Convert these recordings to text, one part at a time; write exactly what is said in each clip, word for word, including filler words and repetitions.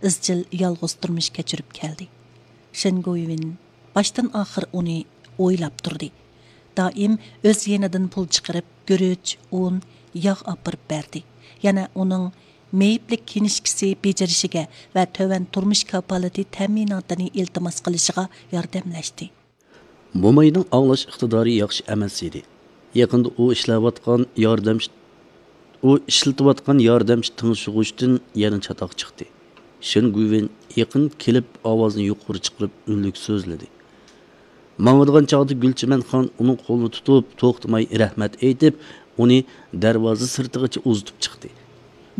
ئىزچىل يالغۇز تۇرمۇش كەچۈرۈپ كەلدى. شېن گۇيۋېن باشتىن ئاخىر ئۇنى ئويلاپ تۇردى. دائىم ئۆز يېنىدىن پۇل چىقىرىپ، گۈرۈچ، ئۇن، ياغ ئاپىرىپ بەردى. يەنە ئۇنىڭ مېيىپلىك كىنىشكىسى بېجىرىشىگە ۋە تۆۋەن تۇرمۇش كاپالىتى تەمىناتىنى ئىلتىماس قىلىشىغا ياردەملەشتى. موماينىڭ ئاڭلاش ئىقتىدارى ياخشى ئەمەس ئىدى. يېقىندا ئۇ ئىشلەۋاتقان ياردەمچى، ئۇ ئىشلىتىۋاتقان ياردەمچى تىڭشىغۇچتىن يەنە چاتاق چىقتى. شېن گۇيۋېن يېقىن كېلىپ، ئاۋازىنى يۇقىرى چىقىرىپ، ئۈنلۈك سۆزلىدى. ماڭىدىغان چاغدا گۈلچىمەن خان ئۇنىڭ قولىنى تۇتۇپ، توختىماي رەھمەت ئېيتىپ، ئۇنى دەرۋازا سىرتىغىچە ئۇزىتىپ چىقتى.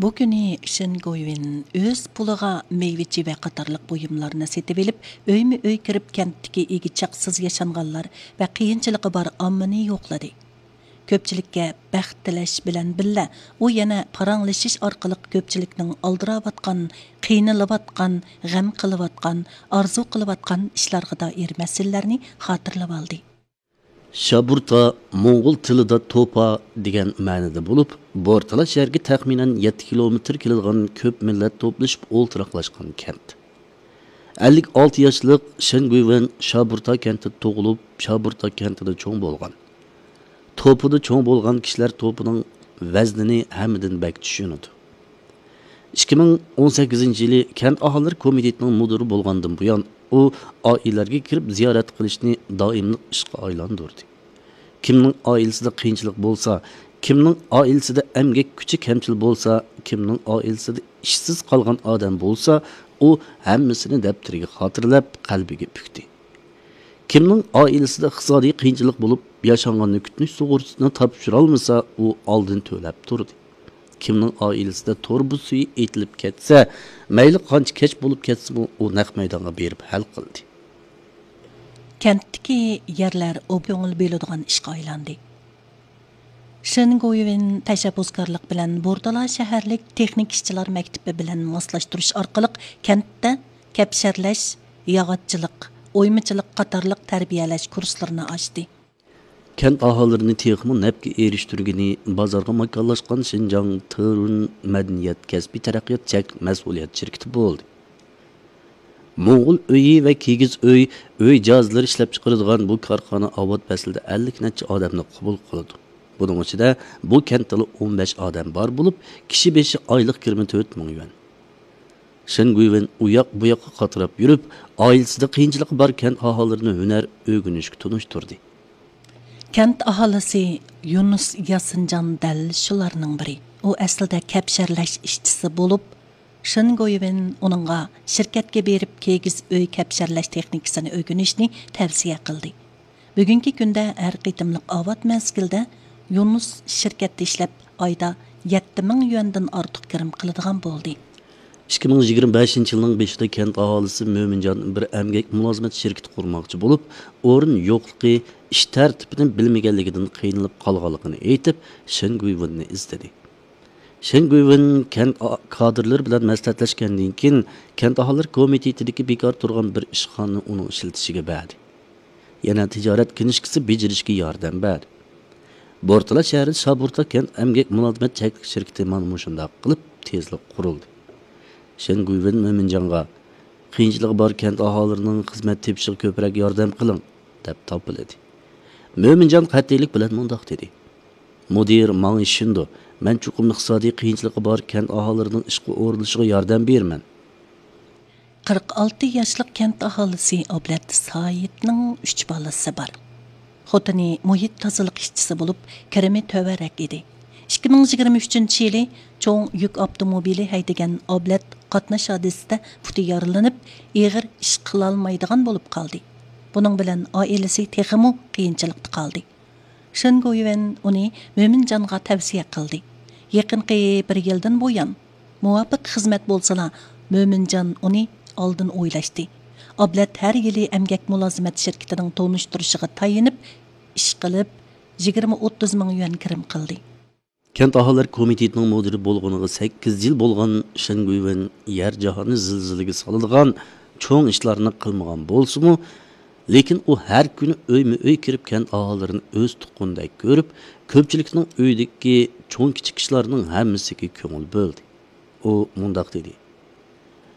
بۇ كۈنى شېن گۇيۋېن ئۆز پۇلىغا مېۋە-چېۋە قاتارلىق بۇيۇملارنى سېتىۋېلىپ، ئۆيمۇ-ئۆي كىرىپ، كەنتتىكى ئىگە چاقسىز ياشانغانلار ۋە قىيىنچىلىقى بار ئاممىنى يوقلىدى. كۆپچىلىككە بەخت تىلەش بىلەن بىللە، ئۇ يەنە پاراڭلىشىش ئارقىلىق كۆپچىلىكنىڭ ئالدىراۋاتقان، قىينىلىۋاتقان، غەم قىلىۋاتقان، ئارزۇ قىلىۋاتقان ئىشلارغا دائىر مەسىلىلەرنى خاتىرىلىۋالدى. شابۇرتا موڭغۇل تىلىدا توپا دېگەن مەنىدە بولۇپ، بورتالا شەھەرگە تەخمىنەن يەتتە كىلومېتىر كېلىدىغان كۆپ مىللەت توپلىشىپ ئولتۇراقلاشقان كەنت. ئەللىك ئالتە ياشلىق شېن گۇيۋېن شابۇرتا كەنتىدە تۇغۇلۇپ، شابۇرتا كەنتىدە چوڭ بولغان. توپىدا چوڭ بولغان كىشىلەر توپىنىڭ ۋەزنىنى ھەممىدىن بەك چۈشىنىدۇ. ئىككى مىڭ ئون سەككىزىنچى يىلى كەنت ئاھالىلەر كومىتېتىنىڭ مۇدىرى بولغاندىن بۇيان، ئۇ ئائىلىلەرگە كىرىپ زىيارەت قىلىشنى دائىملىق ئىشقا ئايلاندۇردى. كىمنىڭ ئائىلىسىدە قىيىنچىلىق بولسا، كىمنىڭ ئائىلىسىدە ئەمگەك كۈچى كەمچىل بولسا، كىمنىڭ ئائىلىسىدە ئىشسىز قالغان ئادەم بولسا، ئۇ ھەممىسىنى دەپتىرىگە خاتىرىلەپ، قەلبىگە پۈكتى. كىمنىڭ ئائىلىسىدە ئىقتىسادىي قىيىنچىلىق بولۇپ، ياشانغاننى كۈتۈنۈش سۇغۇرتىسىنى تاپشۇرالمىسا، ئۇ ئالدىن تۆلەپ تۇردى. كىمنىڭ ئائىلىسىدە تۇرۇبا سۈيى ئېتىلىپ كەتسە، مەيلى قانچە كەچ بولۇپ كەتسىمۇ، ئۇ نەق مەيدانغا بېرىپ ھەل قىلدى. كەنتتىكى يەرلەر ئوبدان كۆڭۈل بۆلىدىغان ئىشقا ئايلاندى. شېن گويۋېن تەشەببۇسكارلىق بىلەن بورتالا شەھەرلىك تېخنىكا ئىشچىلار مەكتىپى بىلەن ماسلاشتۇرۇش ئارقىلىق كەنتتە كەپشەرلەش، ياغاچچىلىق، ئويمىچىلىق قاتارلىق تەربىيەلەش كۇرسلىرىنى ئاچتى. كەنت ئاھالىلىرىنى تېخىمۇ نەپكە ئېرىشتۈرگىنى بازارغا ماكانلاشقان شىنجاڭ تېررۇن مەدەنىيەت كەسپىي تەرەققىيات چەكلىك مەسئۇلىيەت شىركىتى بولدى. موڭغۇل ئۆيى ۋە كىگىز ئۆي، ئۆي جاھازلىرى ئىشلەپچىقىرىدىغان بۇ كارخانا ئاۋات پەسلىدە ئەللىك نەچچە ئادەمنى قوبۇل قىلىدۇ. بۇنىڭ ئىچىدە بۇ كەنتتىلا ئون بەش ئادەم بار بولۇپ، كىشى بېشى ئايلىق كىرىمى تۆت مىڭ يۈەن. شېن گۇيۋېن ئۇ ياق بۇ ياققا قاتراپ يۈرۈپ، ئائىلىسىدە قىيىنچىلىقى بار كەنت ئاھالىلىرىنى ھۈنەر ئۆگىنىشكە تونۇشتۇردى. كەنت ئاھالىسى يۇنۇس ياسىنجان دەل شۇلارنىڭ بىرى. ئۇ ئەسلىدە كەپشەرلەش ئىشچىسى بولۇپ، شېن گويۋېن ئۇنىڭغا شىركەتكە بېرىپ كىگىز ئۆي كەپشەرلەش تېخنىكىسىنى ئۆگىنىشنى تەۋسىيە قىلدى. بۈگۈنكى كۈندە ھەر قېتىملىق ئاۋات مەزگىلدە يۇنۇس شىركەتتە ئىشلەپ، ئايدا يەتتە مىڭ يۈەندىن ئارتۇق كىرىم قىلىدىغان بولدى. ئىككى مىڭ يىگىرمە بەشىنچى يىلنىڭ بېشىدا كەنت ئاھالىسى مۆمىنجان بىر ئەمگەك مۇلازىمەت شىركىتى قۇرماقچى بولۇپ، ئورۇن يوقلۇقى، ئىش تەرتىپىنى بىلمىگەنلىكىدىن قىينىلىپ قالغانلىقىنى ئېيتىپ، شېن گۇيۋېننى ئىزدىدى. شېن گۇيۋېن كەنت ئا-، كادىرلىرى بىلەن مەسلىھەتلەشكەندىن كېيىن، كەنت ئاھالىلەر كومىتېتىدىكى بىكار تۇرغان بىر ئىشخانىنى ئۇنىڭ ئىشلىتىشىگە بەردى. يەنە تىجارەت كىنىشكىسى بېجىرىشكە ياردەم بەردى. بورتالا شەھىرىدە شابۇرتا كەنت ئەمگەك مۇلازىمەت چەكلىك شىركىتى مانا مۇشۇنداق قىلىپ تېزلا قۇرۇلدى. شېن گۇيۋېن مۆمىنجانغا، «قىيىنچىلىقى بار كەنت ئاھالىلىرىنىڭ خىزمەت تېپىشىغا كۆپرەك ياردەم قىلىڭ» دەپ تاپىلىدى. مۆمىنجان قەتئىيلىك بىلەن مۇنداق دېدى: «مۇدىر ماڭا ئىشىنىدۇ، مەن چوقۇم ئىقتىسادىي قىيىنچىلىقى بار كەنت ئاھالىلىرىنىڭ ئىشقا ئورۇنلىشىشىغا ياردەم بېرىمەن.» قىرىق ئالتە ياشلىق كەنت ئاھالىسى ئابلەت سايىتنىڭ ئۈچ بالىسى بار. خوتۇنى مۇھىت تازىلىق ئىشچىسى بولۇپ، كىرىمى تۆۋەنرەك ئىدى. ئىككى مىڭ يىگىرمە ئۈچىنچى يىلى چوڭ يۈك ئاپتوموبىلى ھەيدىگەن ئابلەت قاتناش ھادىسىسىدە پۇتى يارىلىنىپ، ئېغىر ئىش قىلالمايدىغان بولۇپ قالدى. بۇنىڭ بىلەن ئائىلىسى تېخىمۇ قىيىنچىلىقتا قالدى. شېن گويۋېن ئۇنى مۆمىنجانغا تەۋسىيە قىلدى. يېقىنقى بىر يىلدىن بۇيان، مۇۋاپىق خىزمەت بولسىلا، مۆمىنجان ئۇنى ئالدىن ئويلاشتى. ئابلەت ھەر يىلى ئەمگەك مۇلازىمەت شىركىتىنىڭ تونۇشتۇرۇشىغا تايىنىپ، ئىش قىلىپ، يىگىرمە ئوتتۇز مىڭ يۈەن كىرىم قىلدى. كەنت ئاھالىلەر كومىتېتىنىڭ مۇدىرى بولغىنىغا سەككىز يىل بولغان شېن گۇيۋېن يەر جاھاننى زىلزىلىگە سالىدىغان چوڭ ئىشلارنى قىلمىغان بولسىمۇ، لېكىن ئۇ ھەر كۈنى ئۆيمۇ ئۆي كىرىپ، كەنت ئاھالىلىرىنى ئۆز تۇغقىنىدەك كۆرۈپ، كۆپچىلىكنىڭ ئۆيىدىكى چوڭ كىچىك ئىشلارنىڭ ھەممىسىگە كۆڭۈل بۆلدى. ئۇ مۇنداق دېدى: